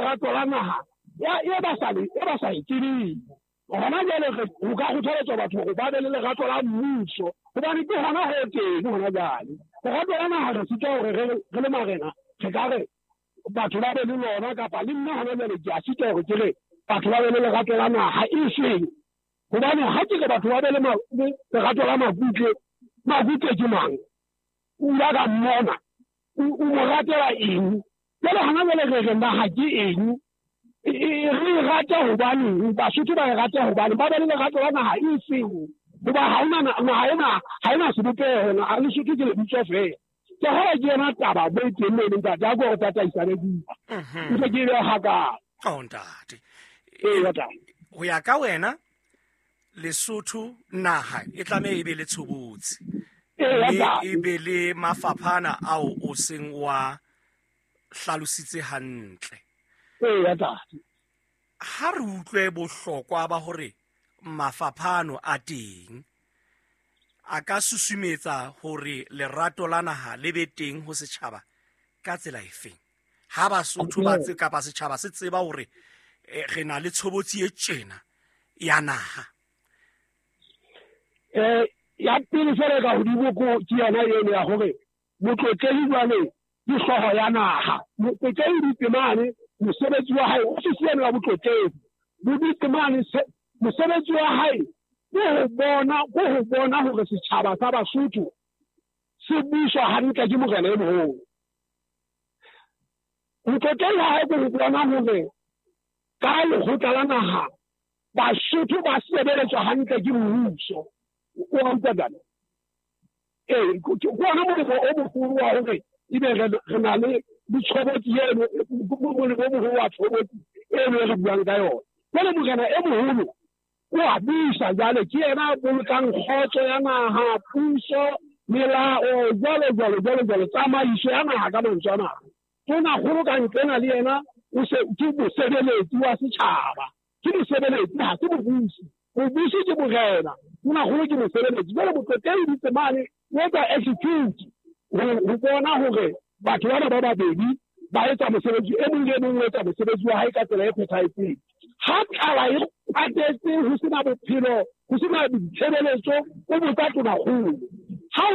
lerato la naha ya e ba sa le e ba sa e tsebeng. Hona jwale ho ka kgothaletswa batho hore ba be le lerato la mmuso, hobane ke hona ho teng hona jwale. Lerato la naha re sitwa hore re le marena re ka re batho ba be le lona, kapa le nna hona jwale ke a sitwa hore ke re batho ba be le lerato la naha e seng. Hobane ha ke re batho ba be le lerato la Makutle, Makutle ke mang? O ile ka mmona, o mo ratela eng? Jwale hona jwale re re naha ke eng? Re e rata hobaneng? Basotho ba e rata hobaneng? Ba be le lerato la naha e seng. Hoba ha hona naha ena ha ena sebopeho, naha Lesotho ke lebitso feela. Ke hola ke yona taba bo e teng mo e leng ntate, ha ke hore tataisane ke utlwa. Ntse ke e beha hakaalo. Oh, ntate. Ee, ntate. Ho ya ka wena, Lesotho naha e tlameha e be le tshobotsi. Ee, Mme ntate. e be le mafaphana ao o seng wa hlalositse hantle. Ee, ntate. Ha re utlwe bohlokwa ba hore mafaphano a teng a ka susumetsa hore lerato la naha le be teng ho setjhaba ka tsela efeng? Ha Basotho ba tse kapa setjhaba se tseba hore re na le tshobotsi e tjena ya naha. Ya pele feela ka hodimo ke yona eno ya hore motlotlehi jwale ke hlooho ya naha. Motlotlehi dutse mane, mosebetsi wa hae, ofisi eno ya motlotlehi bo dutse mane, mosebetsi wa hae ke ho bona hore setjhaba sa Basotho se buswa hantle ke morena e moholo. Motlotlehi wa hae ke ho bona hore ka lekgotla la naha Basotho ba sebeletswa hantle ke mmuso. O a utlwa jwale? Ee, ke ona molemo o moholo wa hore ebe re na le tshobotsi eno, molemo o moholo wa tshobotsi eno e re buang ka yona. Jwale morena e moholo o a busa jwale, ke yena a bolokang kgotso ya naha, puso, melao, jwalo jwalo jwalo jwalo, tsamaiso ya naha ka mantswe a mang. Tonakgolo ka nqena le yena o se ke mosebeletsi wa setjhaba, ke mosebeletsi, ha se mobusi. Mobusi ke morena, tonakgolo ke mosebeletsi. Jwale motlotlehi dutse mane o etsa execute ho bona hore batho bana ba babedi ba etsa mosebetsi, e mong le e mong o etsa mosebetsi wa hae ka tsela e phethahetseng. Ha tlala e patetse, ho sena bophelo, ho sena ditshebeletso, o botsa tonakgolo. Ha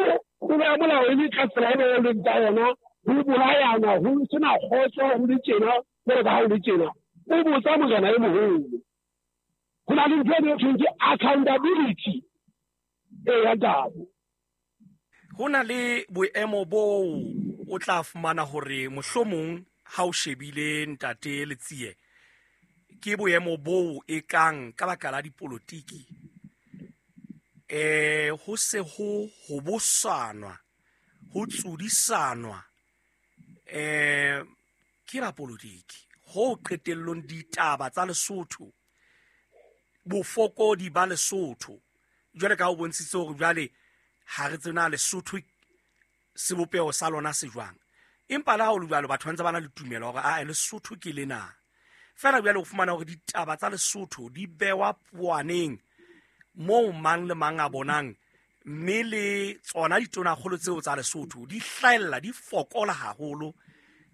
ho ya molao e le ka tsela eo e leng ka yona, ho bolayana, ho sena kgotso, ho le tjena, jwalo ka ha ho le tjena, o botsa morena e moholo. Ho na le ntho e thweng ke accountability e ya ntate. Ho na le boemo boo o tla fumana hore mohlomong ha o shebile ntate Letsie, ke boemo boo e kang ka baka la dipolotiki ho se ho hobosanwa, ho tsudisanwa ke bapolotiki, ho qetellong ditaba tsa Lesotho, bofokodi ba Lesotho. Jwale ka o bontshitse hore jwale ha re tsena Lesotho sebopeho sa lona se jwang, empa le ha o le jwalo batho ba ntse ba na le tumelo hore a Lesotho ke lena. Feela jwale o fumana hore ditaba tsa Lesotho di bewa poaneng moo mang le mang a bonang, mme le tsona ditonakgolo tseo tsa Lesotho di hlahella, di fokola haholo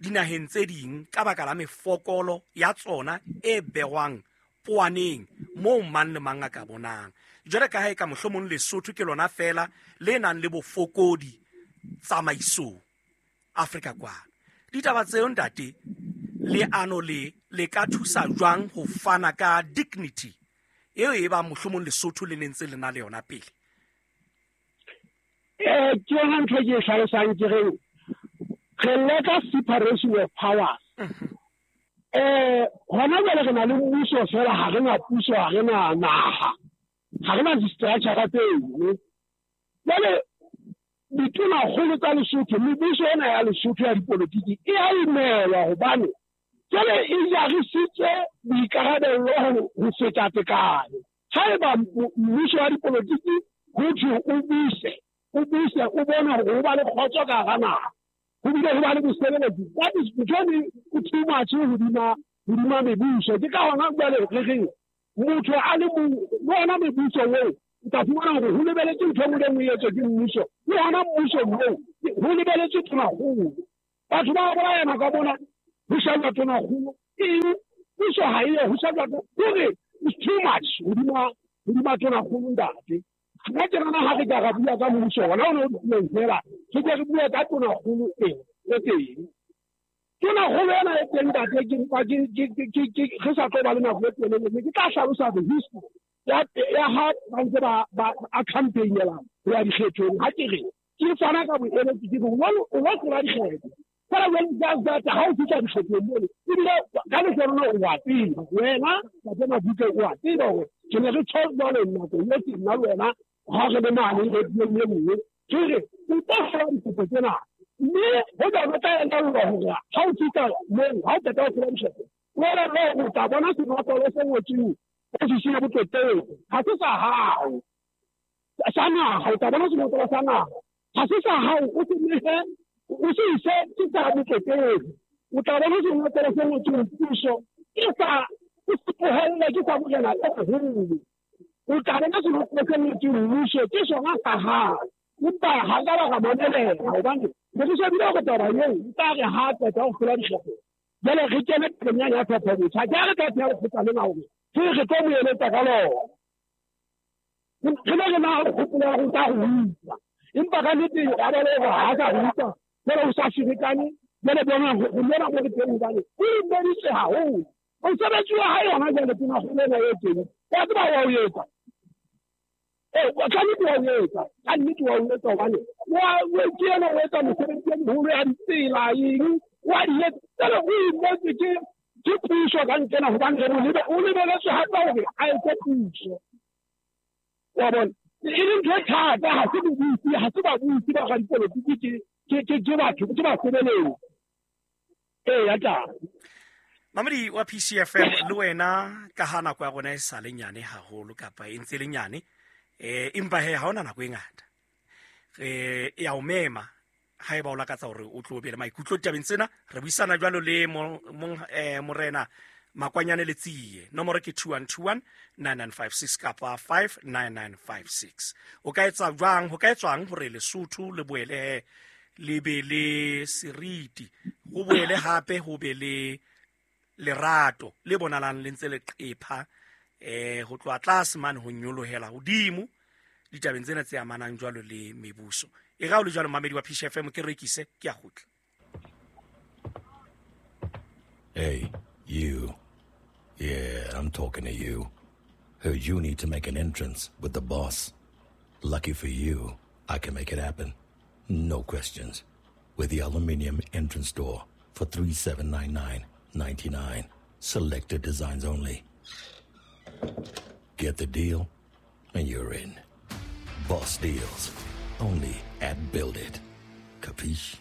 dinaheng tse ding ka baka la mefokolo ya tsona e bewang poaneng moo mang le mang a ka bonang. Jwale ka ha e ka mohlomong Lesotho ke lona feela le nang le bofokodi tsamaisong Afrika kwana. Ditaba tseo ntate, leano le le ka thusa jwang ho fana ka dignity eo e bang mohlomong Lesotho le nentse le na le yona pele? Ke yona ntho e ke e hlalosang ke reng re leka separation of powers. Hona jwale re na le mmuso feela, ha re na puso, ha re na naha, ha re na di-structure tse dingwe. Jwale ditonakgolo tsa Lesotho, mebuso ena ya Lesotho ya dipolotiki e a imelwa hobane jwale e jarisitse boikarabello ho feta tekano. Haeba mmuso wa dipolotiki ho thwe o buse, o buse, o bone hore ho ba le kgotso ka hara naha, ho bile ho ba le bosebeletsi, that is ntho e o too much hodima mebuso. Ke ka hona jwale re reng motho a le mong, le hona mebuso oo o tla fumana hore ho lebeletse ntho e nngwe le e nngwe e etswe ke mmuso, le hona mmusong oo ho lebeletse tonakgolo. Batho ba bolayana ka mona, ho shejwa tonakgolo. Eng puso ha e ho sa jwalo hore it's too much hodima tonakgolo ntate. Nna ke nahana ha re ka ra bua ka mmuso ona o ne o tlileng fela re ke re bua ka tonakgolo eo e teng. Tonakgolo ena e teng ntate ke re sa tlo ba le nako e telele mme ke tla hlalosa the history ya ha ba ntse ba a campaignela ho ya dikgethong. Ha ke re ke fana ka boeletsi ke re o lo tlola dikgetho fela jwale just that ha o fihla dikgethong mole ebile ka lehlohonolo o a tseba wena Tate Mabutle o a tseba hore ke ne re tjho jwalo nako yohle nna le wena ha re le mane radiong e nngwe ke re o tlo hlola dikgetho tsena mme ho ja re tla elellwa hore ha o fihla moo ha o qeta ho hlola dikgetho o elellwe hore o tla bona senotlolo se ngotsweng ofising ya botlotlegi ha se sa hao sa naha o tla bona senotlolo sa naha ha se sa hao o se nehe o se ise ke sa botlotlegi o tla bona senotlolo se ngotsweng puso ke sa o se tlohelle ke sa morena e moholo o tla bona senotlolo se ngotsweng mmuso ke sona sa hao empa ha ka ba ra mamelela hobane ne re shebile hore taba eo e tla re ha qeta ho hlola dikgetho jwale re kene tabeng yane ya tlhopho botjha ke ha re tla theha lekgotla lena hore ke re tlo mo eletsa ka lona re ne re na kgopolo ya ho tla go utlwa empa ka nnete ya ba le hore ha sa go utlwa jwale o sa ferekane jwale bona ho mona mo re teng hobane o imeditswe haholo mosebetsi wa hae hona jwale tonakgolo ena e teng wa tseba wa o etsa ka nnete wa o etsa ka nnete wa o etsa hobane ke ena o etsa mosebetsi e moholo ya ditsela eng wa di etsa jwale o imetswe ke puso ka ntlena hobane re o lebeletswe hape hore a etse puso wa bona e le ntho e thata ha se bobusi ha se babusi ba ga dipolotiki ke batho ke basebeletsi ee ya taba. Mamedi wa PCFM le wena ka ha nako ya rona e sa le nyane haholo kapa e ntse le nyane empa he ha ona nako e ngata re ya o mema haeba o lakatsa hore o tlo be le maikutlo ditabeng tsena. Re buisana jwalo le morena Makwanyane Letsie. Nomoro ke 2121 9956 kapa 59956. O ka etsa jwang ho ka etswang hore Lesotho le boele le be le seriti, ho boele hape ho be le lerato le bonalang le ntse le qepha ho tloha tlase mane ho nyolohela hodimo ditabeng tsena tse amanang jwalo le mebuso. E ra o le jwalo mamedi wa PCFM ke rekise ke a kgutla. Hey, you. Yeah, I'm talking to you. Heard you need to make an entrance with the boss. Lucky for you, I can make it happen. No questions. With the aluminium entrance door for $3,799.99. Selected designs only. Get the deal, and you're in. Boss deals. Only at Build It. Capiche?